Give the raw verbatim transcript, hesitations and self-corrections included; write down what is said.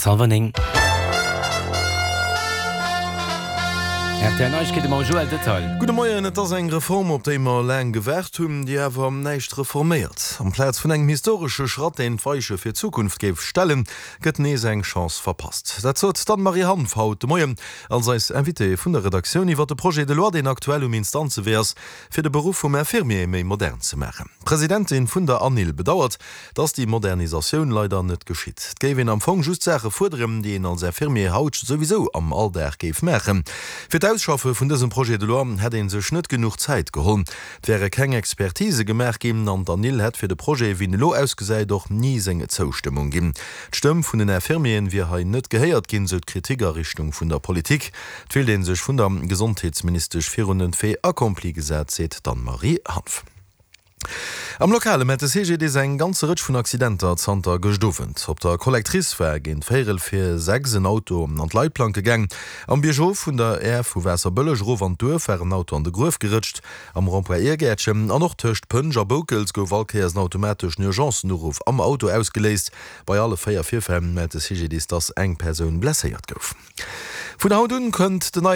ass hallwer néng. Rtl Neiegkeete mam Joël Detail. Gudde Moien, Et ass eng Reform, op déi mer laang gewaart hunn, déi awer näischt reforméiert. Amplaz vun engem historesche Schratt, deen d'Weiche fir d'Zukunft géif stellen, gëtt nees eng Chance verpasst. Dat sot d'Anne-Marie Hanff haut de Moien als eis Invitée vun der Redaktioun iwwer de Projet de loi, deen aktuell um Instanzewee ass, fir de Beruff vum Infirmier méi modern ze maachen. D'Presidentin vun der ANIL bedauert, dass déi Modernisatioun leider net geschitt. Et géif een am Fong just Saache fuerderen, déi een als Infirmier haut souwisou am Alldag géif maachen. Fir d'Ausschaffe vun dësem Projet de loi hätt ee sech net genuch Zäit geholl. Et wäre keng Expertise gemaach ginn an d'ANIL hätt fir de Projet, wéi en elo ausgesäit, och ni seng Zoustëmmung ginn. D'Stëmm vun den Infirmieren wier hei net gehéiert ginn, sou d'Kritik a Richtung vun der Politik. Et wéilt ee sech vun der Gesondheetsministesch virun den Fait accompli gesat, seet d'Anne-Marie Hanff. Am Lokale mellt de C G D I S eng ganze Rëtsch vun Accidenter zanter gëscht Owend. Op der Collectrice war géint véierel vir sechs en Auto an d'Leitplanke gaang. Am Biergof vun der Aire vu Waasserbëlleg erof an d'Duerf war en Auto an de Gruef gerëtscht. Am Rond-point Irgäertchen an och tëscht Pënsch a Boukels gouf all Kéiers en automateschen Urgencen-Uruff am Auto ausgeléist. Bei alle véier Virfäll mellt de C G D I S, dass eng Persoun blesséiert gouf. Vun haut un kënnt den neien.